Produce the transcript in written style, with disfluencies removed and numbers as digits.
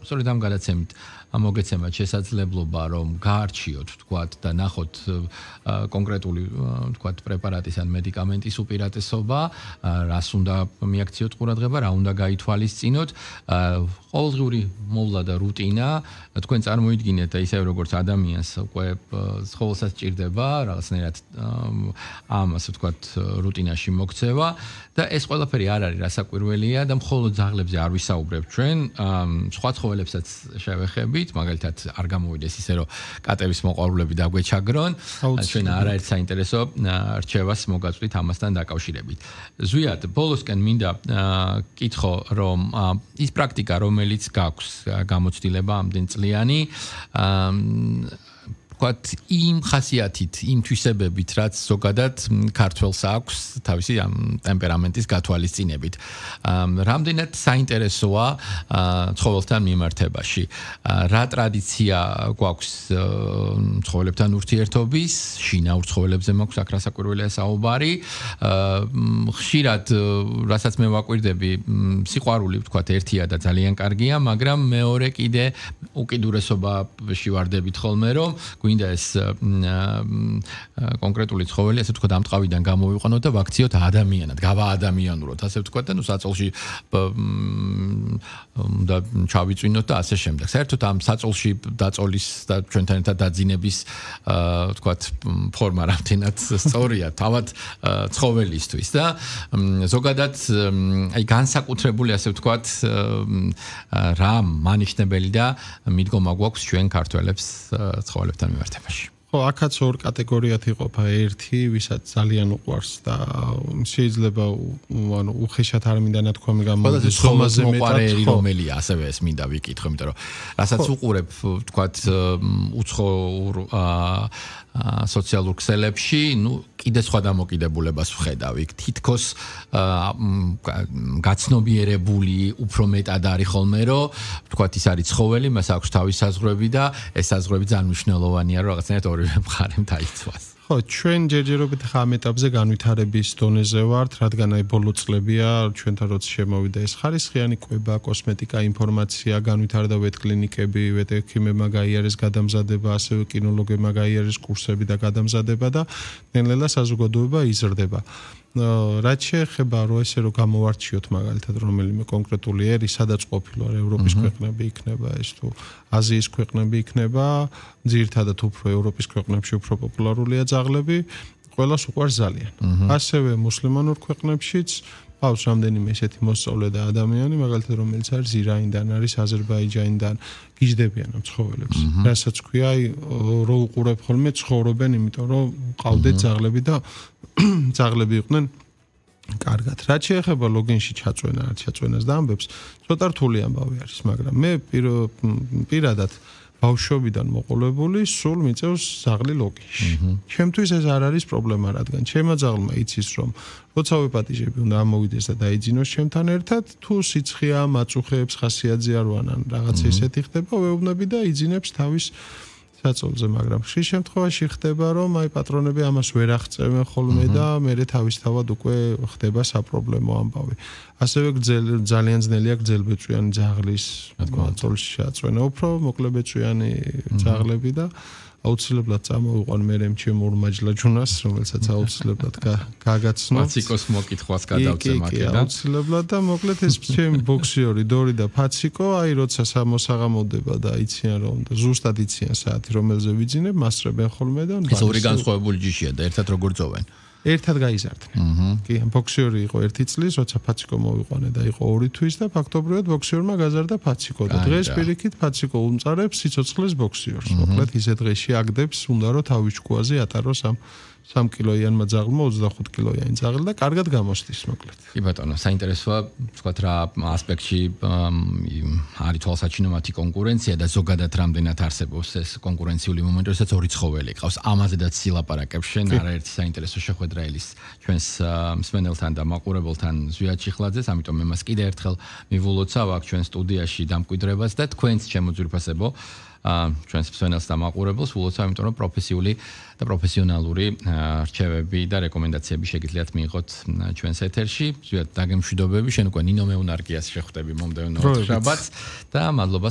სწორედ ამ გადაცემით მოგეცემათ შესაძლებლობა რომ გაარჩიოთ თქვათ და ნახოთ კონკრეტული თქვათ პრეპარატის ან მედიკამენტის უპირატესობა, რას უნდა მიაქციოთ ყურადღება, რა უნდა გაითვალისწინოთ, ყოველდღიური მოვლა და რუტინა, თქვენ წარმოიდგინეთ და ისევ როგორც ადამიანს უკვე ცხოველსაც სჭირდება რაღაცნაირად ამ ასე ვთქვათ რუტინაში მოქცევა და ეს ყველაფერი არ არის რასაკვირველია და მხოლოდ ძაღლებზე არ ვისაუბრებ ჩვენ, სხვა ცხოველებსაც შევეხებით, მაგალითად არ გამოვიდეს ისე რომ კატების მოყვარულები დაგვეჩაგრონ, ჩვენ არაერთ საინტერესო რჩევას მოგაწვით ამასთან დაკავშირებით. ზვიად, ბოლოსკენ მინდა კითხო, რომ ის პრაქტიკა, რომელიც გაქვს გამოცდილება ამდენ წლიანი, ვთქვათ, იმ ხასიათით, იმ თვისებებით, რაც ზოგადად ქართველს აქვს თავისი ამ ტემპერამენტის გათვალისწინებით. რამდენად საინტერესოა ცხოველთან მიმართებაში. რა ტრადიცია გვაქვს ცხოველებთან ურთიერთობის, შინაურ ცხოველებზე მაქვს აქ რასაკვირველია საუბარი. ხშირად, რასაც მე ვაკვირდები, სიყვარული, ვთქვათ, ერთია და ძალიან კარგია, მაგრამ მეორე კიდე უკიდურესობაში ვარდებით ხოლმე, რომ გვინდა ეს კონკრეტული ცხოველი, ასე ვთქვათ, ამ ტყავიდან გამოვიყვანოთ და ვაქციოთ ადამიანად, გავაადამიანუროთ, ასე ვთქვათ, და საწოლში და ჩავიწვინოთ და ასე შემდეგ. საერთოდ ამ საწოლში დაწოლის და ჩვენთან ერთად დაძინების, ვთქვათ, ფორმა რამდენად სწორია, თავად ცხოველისთვის და ზოგადად აი განსაკუთრებული, ასე ვთქვათ, რა მანიშნებელი და მიდგომა გვაქვს ჩვენ ქართველებს ცხოველებთან მიმართებაში. ხო, აქაც ორ კატეგორიად იყოფა. ერთი, ვისაც ძალიან უყვარს და შეიძლება ანუ უხეშად არ მინდა ნათქვამი გამოვიდეს ხომაზე მეტად, რომელია, ასევე ეს მინდა ვიკითხო, იმიტომ რომ რასაც უყურებ, ვთქვათ, უცხო სოციალურ ქსელებში, კიდე სხვა დამოკიდებულებას ვხედავ. იქ თითქოს გაცნობიერებული უფრო მეტად არის ხოლმე, რომ ვთქვათ, ის არის ცხოველი, მას აქვს თავის საზღვრები და ეს საზღვრები ძალიან მნიშვნელოვანია, რომ რაღაცნაირად ორივე მხარემ დაიცვას. ხო, ჩვენ ჯერჯერობით ამ ეტაპზე განვითარების დონეზე ვართ, რადგან აი ბოლო წლებია ჩვენთან როცა შემოვიდა ეს ხარისხიანი კვება, კოსმეტიკა, ინფორმაცია, განვითარდა ვეტკლინიკები, ვეტექიმებმა გაიარეს გადამზადება, ასევე კინოლოგებმა გაიარეს კურსები და გადამზადება და ნელ-ნელა საზოგადოება იზრდება. რაც შეეხება რომ ესე რომ გამოვარჩიოთ მაგალითად რომელიმე კონკრეტული ერი, სადაც ყოფილვარ, ევროპის ქვეყნები იქნება ეს თუ აზიის ქვეყნები იქნება, ძირითადად უფრო ევროპის ქვეყნებში უფრო პოპულარულია ძაღლები, ყველას უყვარს ძალიან. ასევე მუსლიმანურ ქვეყნებშიც ყავს რამდენიმე ესეთი მოსწავლე და ადამიანი, მაგალითად რომელიც არის ირანიდან, არის აზერბაიჯანიდან, გიждდებიან ამ ცხოველებს. რასაც ქვია, აი რო უყურებ ხოლმე ცხოვრობენ, იმიტომ რომ ყავდეთ ძაღლები და ძაღლები იყვნენ კარგად. რაც შეეხება ლოგინში ჩაწვენა, რაც ჩაწვენას და ამბებს, ცოტა რთული ამბავი არის, მაგრამ მე პირადად ბავშვობიდან მოყოლებული სულ მიწევს ძაღლი ლოგინში. ჩემთვის ეს არ არის პრობლემა, რადგან ჩემმა ძაღლმა იცის რომ როცა ვეპატიჟები უნდა ამოვიდეს და დაიძინოს ჩემთან ერთად, თუ სიცხეა, მაწუხეებს ხასიათზე არ ვანან, რაღაც ესეთი ხდება, ვეუბნები და იძინებს თავის საწოლზე, მაგრამ ხშირ შემთხვევაში ხდება რომ აი პატრონები ამას ვერ აღწევენ ხოლმე და მერე თავისთავად უკვე ხდება საპრობლემო ამბავი. ასევე ძალიან ძნელია გრძელბეწვიანი ძაღლის მაწოლში შეაწვენა, უფრო მოკლებეწვიანი ძაღლები და აუცილებლად წამოვიყვან მერე ჩემო ურმაჯლაჯუნას, რომელსაც აუცილებლად გაგაცნო. ფაციკოს მოკითხვას გადავწე მაქედან. აუცილებლად და მოკლედ ეს ჩემი ბოქსიორი დორი და ფაციკო, აი როცა მოსაღამოდება და იციან რომ და ზუსტად იციან საათი რომელზე ვიძინებ, მასწრებენ ხოლმე და ეს ორი განსხვავებული ჯიშია და ერთად როგორ ძოვენ? ერთად გაიზარდნენ. კი, ბოქსიორი იყო 1 წლის, როცა ფაციკო მოვიყვანე და იყო 2 თვის და ფაქტობრივად ბოქსიორმა გაზარდა ფაციკო და დღეს პირიქით ფაციკო უმწარებს სიცოცხლეს ბოქსიორს. მოკლედ ისე დღეში აგდებს, უნდა რომ თავის ჭკუაზე ატაროს ამ 3 კილოიანმა ძაღლმა 25 კილოიანი ძაღლი და კარგად გამოსდის მოკლედ. კი ბატონო, საინტერესოა, ვთქვათ რა ასპექტში არის თვალსაჩინო მათი კონკურენცია და ზოგადად რამდენად არსებობს ეს კონკურენციული მომენტი, როდესაც ორი ცხოველი ყავს. ამაზედაც სილაპარაკებს შენ არაერთი საინტერესო შეხვედრა ელის ჩვენს მსმენელთან და მაყურებელთან ზვიად ჩიხლაძეს, ამიტომ მე მას კიდე ერთხელ მივულოცავ აქ ჩვენ სტუდიაში დამკვიდრებას და თქვენს შემოძვირფასებო ჩვენს მსმენელს და მაყურებელს ულოცავ, იმიტომ რომ პროფესიული და პროფესიონალური რჩევები და რეკომენდაციები შეგიძლიათ მიიღოთ ჩვენს ეთერში. ზვიად, დაგემშვიდობები, შენ უკვე ნინო მეუნარგიას შეხვდები მომდევნო შაბათს და მადლობას